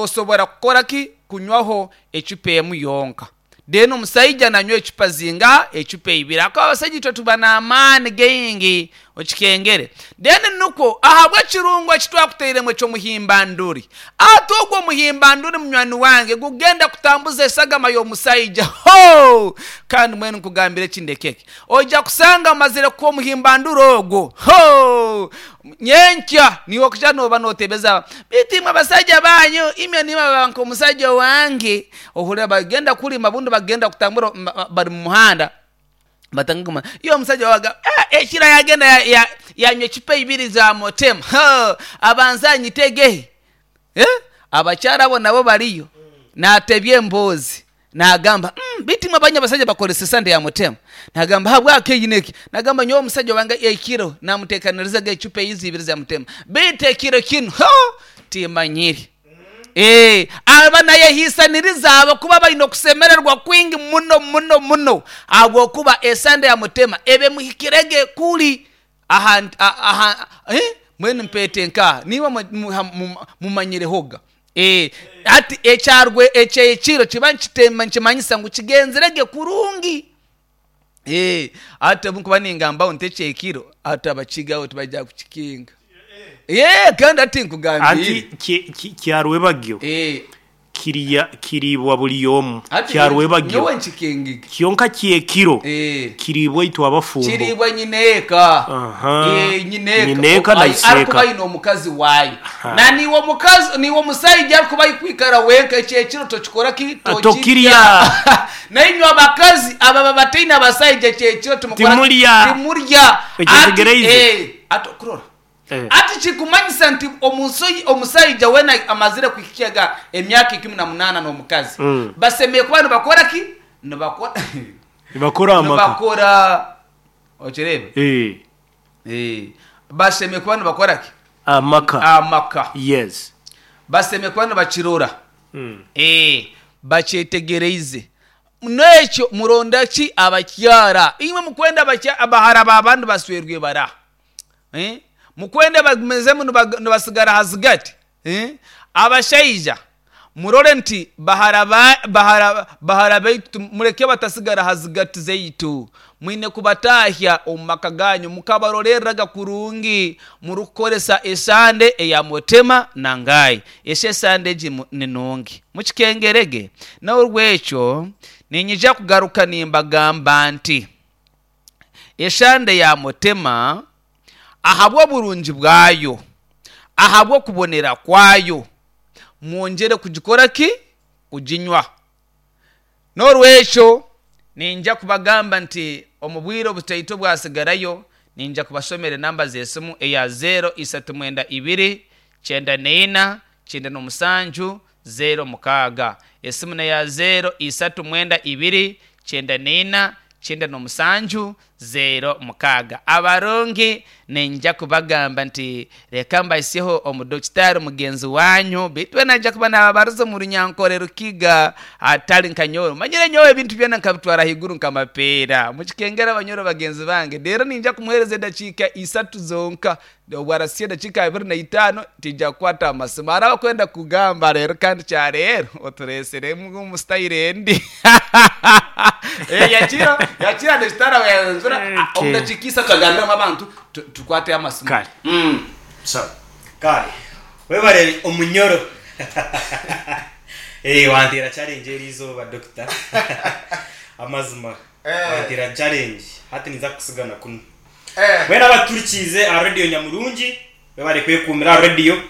osobora kukora ki? Kunywaho ecupa emu yonka. Then omusaija nanywa ecupa zingaha? Ecupa ibiri. Ahakuba abasaija itwe tuba n'amaani gaingi, okikengere. Then nukwo ahabw'ekirungo eki twakutairemu eky'omuhimbanduri. Ati ogwo omuhimbanduri munywani wange gugenda kutambuza esagama y'omusaija. Hoo! Kandi mbwenu nkugambire ekindi ekeke. Oija kusanga amazire kukuha omuhimbanduri ogwo. Hoo! Nyenkya niiwe okuja nooba nootebeza, Beitu imwe abasaija baanyu, imwe nimwe baba nk'omusaija owange. Ohurira bagenda kulima obundi bagenda kutambura bari mu muhanda, batandika kugamba, iwe omusaija waawe agamba, eh, ekiro yagenda yanywa ecupa ibiri za motema, hoo, abanze anyitegehe. Eh, abakyara abo nabo bariyo, naatebya emboozi. Naagamba, Umm, beitu imwe abanyu abasaija bakoresa esande ya mutema? Naagamba, Habwaki eyi n'eki? Naagamba, Nyowe omusaija wange ekiro naamuteekanirizaga ecupa eizi ibiri za mutema, beitu ekiro kinu, hoo, timmanyire. Ee, aba naayehiisaniriza ahabw'okuba baine okusemererwa kwingi muno muno muno ahabw'okuba esande ya mutema eba emuhikirege kuri aha, aha, eh, mbwenu mpeete nkaha? Niimwe mumanyirehoga. Ee, hati ekyarwe eky'ekiro kiba nikimanyisa ngu kigenzire gye kurungi. Ee, hati obu nkuba ningambaho nti eky'ekiro, hati abakiga abo tibaija kukikinga. Ee, kandi hati nkugambiire. Anti kyarwebagyo. Ee. Kirya kiriibwa buri omu. Hati Kya nyowe rwebagyo. nyowe nkikingiga. Kyonka ky'ekiro Eh. kiriibwa itwe abafumbo. Kiriibwa nyineeka. Aha. Eh, nyineeka. Nyineeka O- na ai- iseeka. arikuba aine omukazi waayo. Aha. Na niiwe omukazi, niiwe omusaija arikuba arikwikara wenka eky'ekiro tokikora ki? Ah, Tokirya. tokirya. Nainywe abakazi ababa bataine abasaija eky'ekiro timukora ki? Timurya. Timurya. Ekyo Ati, ntegereize. eh, ati okurora. Eh. Hati kikumanyisa nti omusaija weena amazire kuhikya emyaka 18 n'omukazi basemeriire kuba nibakora ki? Nibakora Nibakora amaka. Nibakora okireeba? Eh. Eh. Basemeriire kuba nibakora ki? Amaka. Amaka. Yes. Basemeriire kuba nibakirora. Eh, bakyetegereize. N'ekyo muronda ki abakyara? Imwe mukwenda abahara b'abandi baswerwe bara? Mukwenda bagumizemu nibatsigara aha zigati. Abashaija, murore nti bahara baitu mureke batatsigara aha zigati zaitu. Mwine kubatahya omu maka gaanyu mukabarorereraga kurungi murikukoresa esande eya Mutema na Ngai. Eki esande egi ni nungi. Mukikengerege. N'ahabw'ekyo niinyija kugaruka nimbagamba nti. Eshande ya Mutema ahabw'oburungi bwayo, ahabw'okubonera kwayo, mwongyere kugikora ki? Kuginywa. N'orwekyo niinyija kubagamba nti omu bwire obutaito obwatsigarayo, niinyija kubashomera enamba z'esimu eya zeero isatu mwenda ibiri, kyenda n'eina, kyenda n'omusanju, zeero mukaaga. Esimu n'eya zeero isatu mwenda ibiri, kyenda n'eina, kyenda n'omusanju, zeero mukaaga. Abarungi, niinyija kubagamba nti, Reka mbahisyeho omudokitaari mugenzi waanyu, beitu we naija kuba naababariza omu Runyankore Rukiga, hatari nka nyowe. Omanyire nyowe ebintu byona nkabitwara ahaiguru nk'amapeera. Mukikengera banyoro bagenzi bange. Reero niinyija kumuheereza edakiika isatu zonka. Obu arasya edakiika 25, twija kukwata aha masimu. Hariho abakwenda kugamba reero kandi kyareero otureetsiremu omu sitayiro endi. Yakira, yakira dokitaari aba yayanjura omu dakiika isatu agambiremu abantu tukwate amasimu. Kare. Sawa. Kare. Webare omunyoro. Eh, wanteera challenge eri izooba doctor. Amazima. Wanteera challenge. Hati ninza kukusiga na kunu. Mbwenu abaturikiize aha rediyo nyamurungi, webare kwekuumira aha rediyo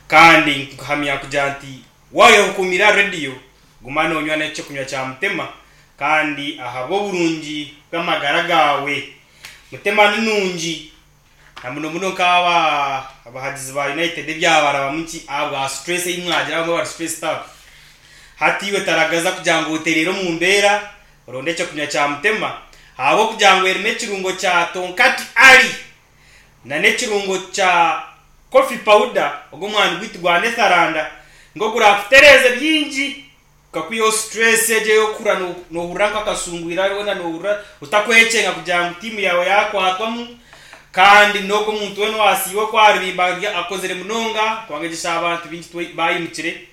kandi nkuhamya kugira nti waayekuumira aha rediyo, guma noonywa n'eky'okunywa kya Mutema kandi ahabw'oburungi bw'amagara gaawe. Mutema ni nungi na muno muno nk'aba abahagizi ba United ebyabarabamu nki ahabwa stress ei mwagira abamwe bari stressed up. Hati iwe taragaza kugira ngu otereere omu mbeera Oronde ekyokunywa kya Mutema ahabw'okugira ngu erimu ekirungo kya Tonkati Ali na n'ekirungo kya Coffee Powder ogu omwani gwaitu gwa Netheranda ngu ogurakutereeze bingi gukakwihaho stress egyo ey'okuhurira nohurira nk'akasungwire weena nohurira otakwekyenga kugira ngu tiimu yaawe yaakwatwamu kandi n'ogwo omuntu weena owaasiiba oku aribimba akozire munonga kubanga egyesha abantu baingi baayimukire.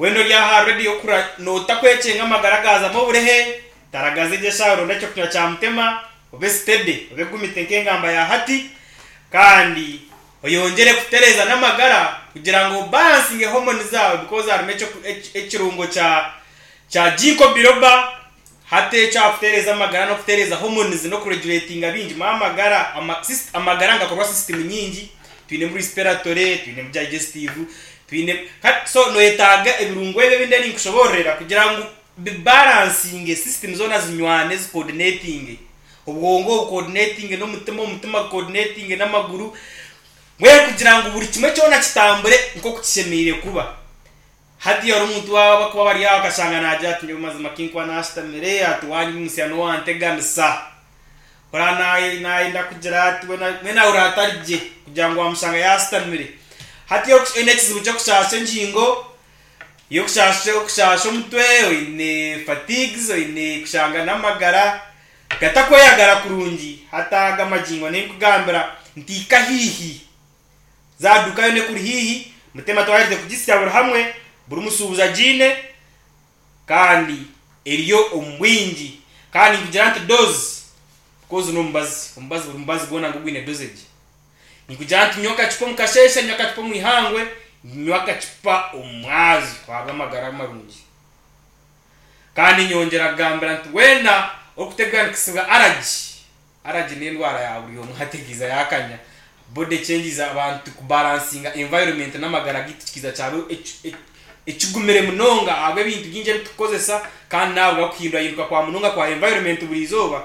Weena ori aha rediyo kura nootakwekyenga amagara gaazamu oburehe, taragaza egyo eshaaha oronde ekyokunywa kya mutema, obe steady, obe gumite nk'engamba ya hati, kandi oyongyere kutereeza n'amagara kugira ngu obalansinge hormones zaawe because harimu ekirungo kya kya ginkgo biloba hati ekyo aha kutereeza amagara n'okutereeza hormones n'okuregulatinga bingi mu amagara amagara nigakorwa system nyingi twinemu respiratory, twinemu digestive, twine so noyetaaga ebirungo ebi ebindi ebi ninkushoboororera kugira ngu bibalansinge system zoona zinywane zi coordinatinge. Obwongo bucoordinatinge n'omutima, omutima gucoordinatinge n'amaguru, mbwenu kugira ngu buri kimwe kyona kitambure nk'oku kishemereire kuba. Hati hariho omuntu waaba abakuba bari aho akashanga naagira ati nyowe mazima kinkuba naashutamire ati waanyimutsya n'owanteganisa. Oraba naayenda kugira ati mbwenu ahurira atari gye kugira ngu waamushanga yaashutamire. Hati oine ekizibu ky'okushaasha engingo, y'okushaasha omutwe, oine fatigues, oine kushanga n'amagara gatakweyagara kurungi, hati aga amagingo ninkugambira nti hika haihi, zaaduuka yoona ekuri haihi, Mutema twaherize kugisya buri hamwe, buri mushuubuzi agiine kandi eriyo omu bwingi. Kandi ninkugira nti dose, because n'omubazi, omubazi buri mubazi gwona ngu gwine dosage. Ninkugira nti nywa akacupa omu kasheeshe, nywa akacupa omu ihangwe, nywa akacupa omu mwazyo ahabw'amagara marungi. Kandi nyongyera kugambira nti weena orikuteganisibwa aragi, aragi n'endwara ya buri omwe hati ekiiza yaakanya, body changes abantu kubalansinga environment n'amagara gaitu kikiiza kyaba ekigumire munonga ahabw'ebintu bingi ebi turikukozesa kandi n'ahabw'okuhindurahinduka kwa munonga kwa environment buri izooba.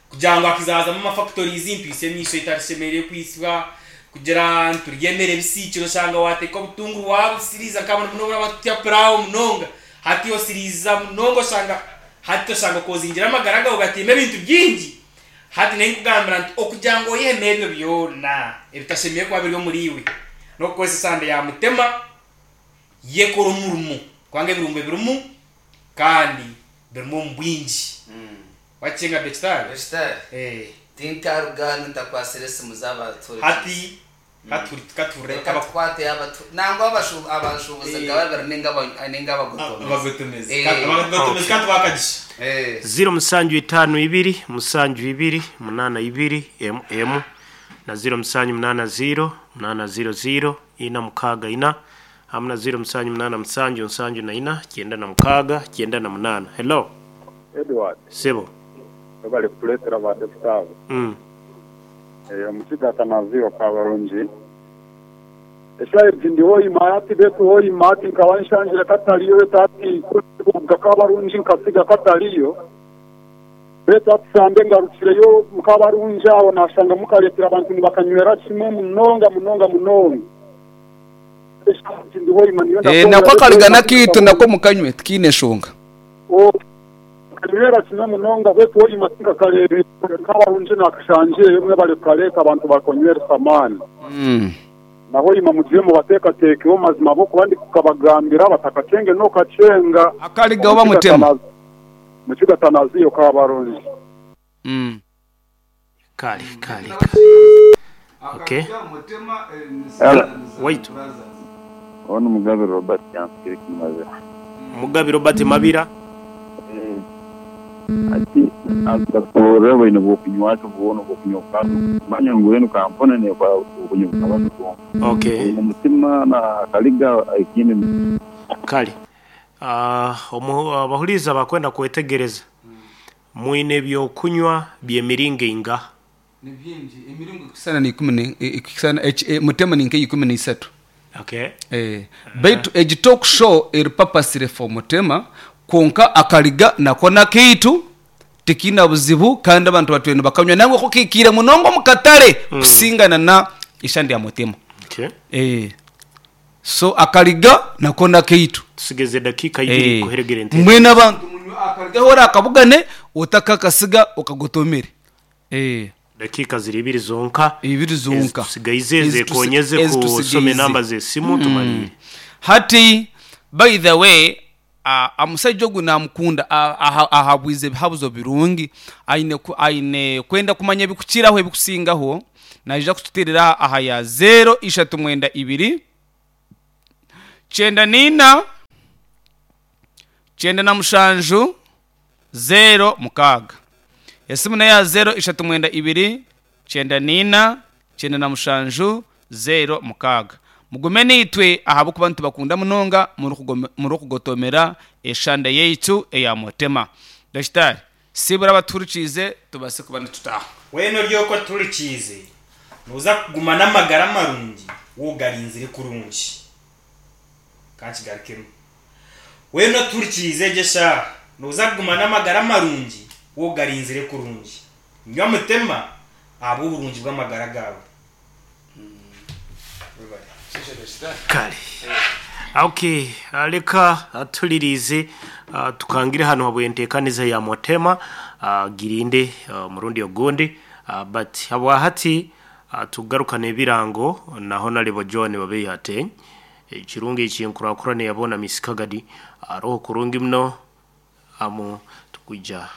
Kugira ngu hakizazamu ama factories ntwitsye emiisho etarishemereire kwitsibwa, kugira nturye emere ebisiikire oshanga wateeka obutunguru wabusiriiza nka muno muno abakuturya pillawo munonga hati osiriiza munonga oshanga hati oshanga okozingire amagara gaawe gataine ebintu bingi hati ninkugambira nti okugira ngu oyehemu ebyo byona ebitashemereire kuba biri omuri iwe n'okukozesa esande ya mutema yekora omurimo kubanga ebirungo birimu kandi birimu omu bwingi. Wakicenga Bekitari? Bekitari, Eh. Tinkaruga hanu ntakwasire esimu z'abatuhurikiize. Hati katuhuri katuhurire Reka aba tukwate abatu nangwa abashu abashuubuzi Eh. nga babiri ninga aba ninga abagotomezi. abagotomezi. Eh. Ka abagotomezi Okay. katubakagisha. Eh. Ziro musanju itaano ibiri musanju ibiri munaana ibiri emu emu na ziro musanju munaana ziro munaana ziro ziro ina mukaaga ina hamu na ziro musanju munaana musanju nsanju na ina kyenda na mukaaga kyenda na munaana. Hello. Edward, Sebo. Webale kutuletera ba Dokita abo. Omukiga Atanazio Kabarungi. Eshaaha egi ndi Hoima hati beitu Hoima hati nkaba nshangire katariyo beitu hati ku ndikuruga Kabarungi nkasiga katariyo beitu hati Sande ngarukireyo Kabarungi aho nashanga mukareetera abantu nibakanywera kimwe munonga munonga munonga. Eshaaha egi ndi Hoima niyo Eh, ndakorera nako beitu akariga Hoima n'akaitu nako mukanywe tikiine nshonga. Kanywera kimwe munonga beitu hoima tinkakareebire Kabarungi nakashangyeyo mwebare kukareeta abantu bakonyweresa amaani. Na hoima mugire mubateekateekeho mazima ahabw'okuba ndikukabagambira batakacenge n'okachenga Akariga oba mutema. Mukiga Tanaziyo Kabarungi. Kale kale kale. Okay. Hello. Waitu. Onu Mugabe Robert Kyansikire Kimabira. Mugabe Robert Mabira. Ati akasoborora bwine bw'okunywa ati bwona obw'okunywa bukaba manya ngu enu kampuni nekora obunywi bukaba nibwonka. Okay. Oine omutima na akaliga ekindi ni. Kale. Ah, omu abahuriize abakwenda kwetegereza mwine ebyokunywa by'emiringo eingaha? Ni bingi, emiringo ekukusana n'eikumi ne, ekukusana eki, mutema ni nk'eikumi n'eisatu. Okay. Eh, beitu egi talk show eri purposely for Mutema, kwonka akariga nako n'akaitu, tikiina buzibu kandi abantu batwire nibakanywa nangwa ko kaikaire munonga omu katare kusingana na ishani rya Mutema. Okay. Eh, so akariga nako n'akaitu. Tusigeze edakiika ibiri Eh, kuheregera enteerane. mbwenu abantu munywe akariga ahu orakabugane otakakasiga okagotomere. Eh. Dakiika ziri ibiri zonka Ibiri zonka. ezitusigaize Ezitusi- zekonyeze kusoma ezitusigaize. enamba z'esimu tumaliire. Hati by the way a amusaija ogu namukunda a aha ahabwize ebihabuzo birungi aine ku aine kwenda kumanya ebikukiraho ebikusingaho naija kututeerera aha ya zeero ishatu mwenda ibiri kyenda na ina. 97 06. Esimu neya 0 ishatu mwenda ibiri 94 97 06. Mugume naitwe ahabw'okuba nitubakunda munonga murikugotomera eshanda yaitu eya Mutema. Dakitari, sibura abatuhurikiize tubaase kuba nitutaaha. Weena ori okwo otuhurikiize, nooza kuguma n'amagara marungi waaba ogarinzire kurungi. Ka nkigarukemu. Weena otuhurikiize egi eshaaha, nooza kuguma n'amagara marungi waaba ogarinzire kurungi. Nywa Mutema ahabw'oburungi bw'amagara gaawe. Webare. Kale. Ok, reka tuhuririize tukangire hanu habw'enteekaniza ya Mutema girinde omurundi ogundi but habwahati tugarukane ebirango na Honarebo John Babeihateny ekirungi eky'enkurakurana eyaboona Miss Kagadi aroho kurungi muno amu tukwija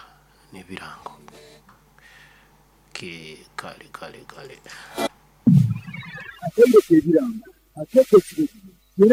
n'ebirango. Ok, kale kale kale. Akatebe k'ebirango, Ak'ekyo kirezi.